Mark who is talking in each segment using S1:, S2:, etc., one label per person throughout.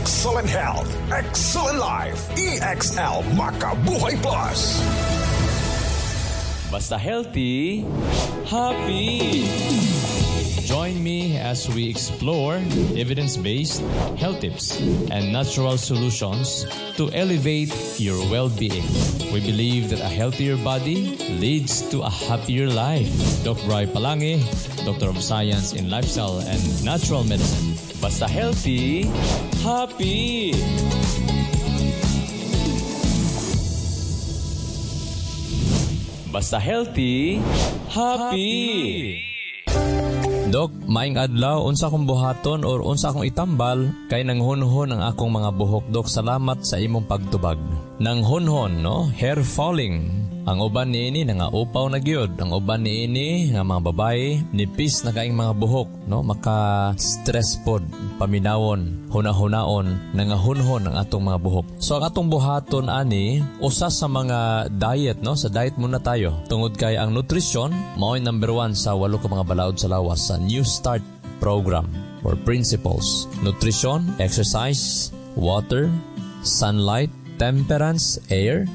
S1: Excellent health, excellent life. EXL Makabuhay Plus.
S2: Basta healthy, happy. Join me as we explore evidence-based health tips and natural solutions to elevate your well-being. We believe that a healthier body leads to a happier life. Doc Bry Palangi, Doctor of Science in Lifestyle and Natural Medicine. Basta healthy, happy. Basta healthy, happy. Dok, maing adlaw, unsa akong buhaton or unsa akong itambal kay nanghunhon ang akong mga buhok? Dok, salamat sa imong pagtubag. Nanghunhon, no? Hair falling. Ang uban niini nangaupaw na gyud. Ang uban niini nga mga babae nipis na kaing mga buhok, no? Maka-stress pod, paminawon, huna-hunaon, nangahunhon ang atong mga buhok. So ang atong buhaton ani usa sa mga diet, no? Sa diet muna tayo. Tungod kay ang nutrisyon mao'y number 1 sa 8 ka mga balaod sa lawas sa New Start program or principles. Nutrition, exercise, water, sunlight, temperance, air,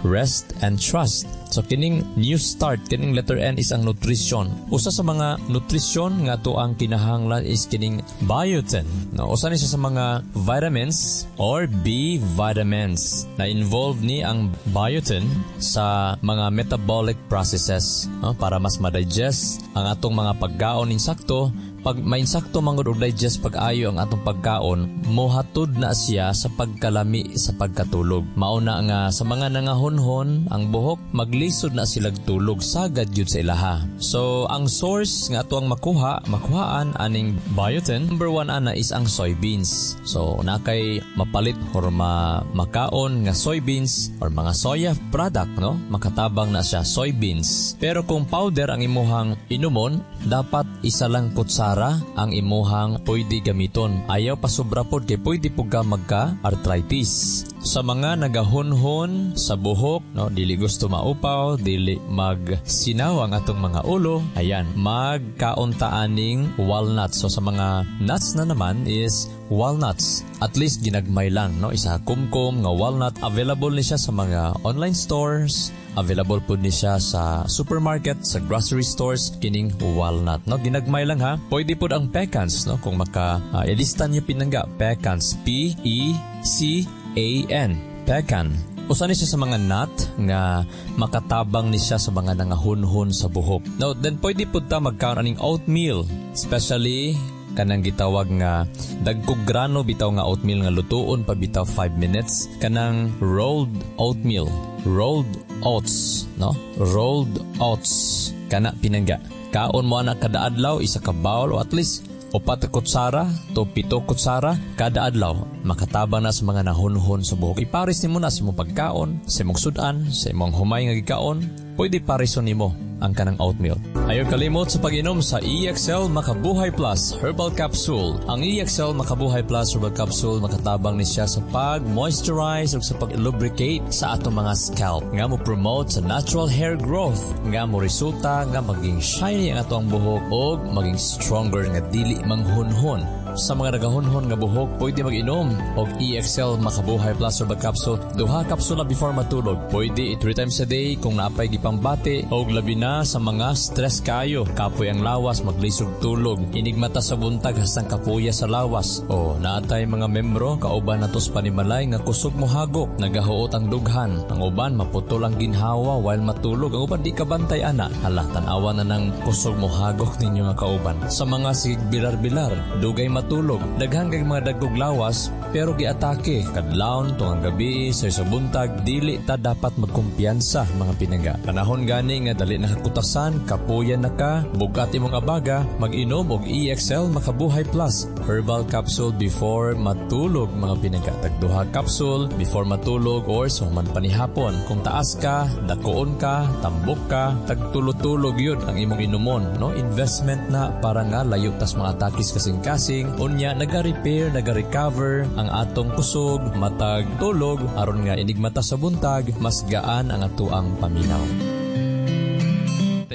S2: rest, and trust. So kining New Start, kining letter N is ang nutrition. Usa sa mga nutrition nga to ang kinahanglan is kining biotin. No, usa ni siya sa mga vitamins or B vitamins na involved ni ang biotin sa mga metabolic processes, no, para mas ma-digest ang atong mga pagkaon insakto. Pag mainsakto man gud og digest pag-ayo ang atong pagkaon, mohatod na siya sa pagkalami sa pagkatulog. Mao na nga sa mga nangahunhon ang buhok, maglisod na silag tulog sagad gyud sa ilaha. So ang source nga ato ang makuhaan aning biotin, number 1 ana is ang soybeans. So na kay mapalit or makaon nga soybeans or mga soya product, no? Makatabang na siya soybeans. Pero kung powder ang imuhang inumon, dapat isa lang kutsara ang imuhang pwede gamiton. Ayaw pa sobra pod kay pwede pud ka magka-arthritis. Sa mga nagahunhon sa buhok, no, dili gusto maupaw, dili magsinaw ang atong mga ulo, ayan, magkaunta aning walnuts. So sa mga nuts na naman is walnuts. At least ginagmay lang, no, isa kumkum nga walnut. Available ni siya sa mga online stores, available pud ni siya sa supermarket, sa grocery stores, kining walnut, no? Ginagmay lang ha. Pwede pud ang pecans, no? Kung maka ilista niyo pinangga, pecans, P E C A N, pecan. Usa ni siya sa mga nut nga makatabang ni siya sa mga nangahunhon sa buhok. Now, then pwede pud ta magkaon aning oatmeal, especially kanang gitawag nga dagkog grano bitaw nga oatmeal nga lutuon pa bitaw 5 minutes, kanang rolled oatmeal, rolled oats, no? Rolled oats kana pinangga. Kaon mo ana kada adlaw isa ka bowl o at least 4 kutsara to 7 kutsara kada adlaw. Makatabang na sa mga nahunhon sa buhok. Ipares nimo na sa imong pagkaon, sa imong sudan, sa imong humay nga gikaon. Pwede parison nimo ang kanang oatmeal. Ayaw kalimot sa pag-inom sa EXL Makabuhay Plus Herbal Capsule. Ang EXL Makabuhay Plus Herbal Capsule makatabang ni siya sa pag-moisturize o sa pag-lubricate sa atong mga scalp. Nga mo promote sa natural hair growth. Nga mo resulta nga maging shiny ang atong buhok o maging stronger nga dili manghunhon. Sa mga nagahunhon nga buhok, pwede mag-inom og EXL Makabuhay Plus Herbal Capsule. 2 kapsula before matulog. Pwede 3 times a day kung naapay gipambati og labi na sa mga stress kayo. Kapoy ang lawas, maglisog tulog. Inigmata sa buntag hastang kapuya sa lawas. O naatay mga membro kauban nato sa panimalay nga kusog mohagok, nagahuot ang dughan. Ang uban maputol ang ginhawa while matulog. Ang uban di ka bantay ana. Hala, tan-awa na ng kusog mohagok ninyo nga kauban. Sa mga sigig bilar-bilar, dugay matulog, daghan kay mga dagkog lawas pero giatake kadlawon tungang gabi sa isa buntag. Dili ta dapat magkumpiyansa mga pinangga. Panahon gani nga dali nakakutasan, kapuyan na ka, bugat imong abaga, mag-inom og EXL Makabuhay Plus Herbal Capsule before matulog mga pinangga. Tag 2 capsule before matulog or sa human panihapon. Kung taas ka, dakoon ka, tambok ka, tagtulog-tulog yun ang imong inumon, no? Investment na para nga layo tas mga atakis kasing-kasing. Unya, naga-repair, naga-recover ang atong kusog, matag tulog, aron nga inigmata sa buntag, mas gaan ang atoang paminaw.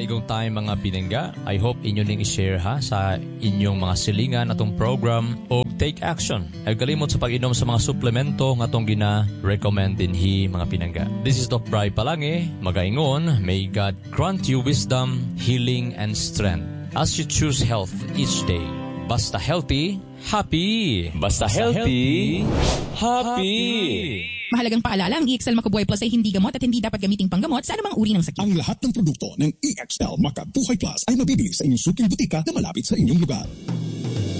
S2: igong time, mga pinangga. I hope inyo ning i-share ha sa inyong mga silingan atong program o take action. Ay kalimot sa pag-inom sa mga suplemento nga atong gina-recommend dinhi, mga pinangga. This is Doc Bry Palangi, magaingon, may God grant you wisdom, healing, and strength as you choose health each day. Basta healthy, happy! Basta healthy, happy!
S3: Mahalagang paalala, ang EXL Makabuhay Plus ay hindi gamot at hindi dapat gamiting panggamot sa anumang uri ng sakit.
S1: Ang lahat ng produkto ng EXL Makabuhay Plus ay mabibili sa inyong suking butika na malapit sa inyong lugar.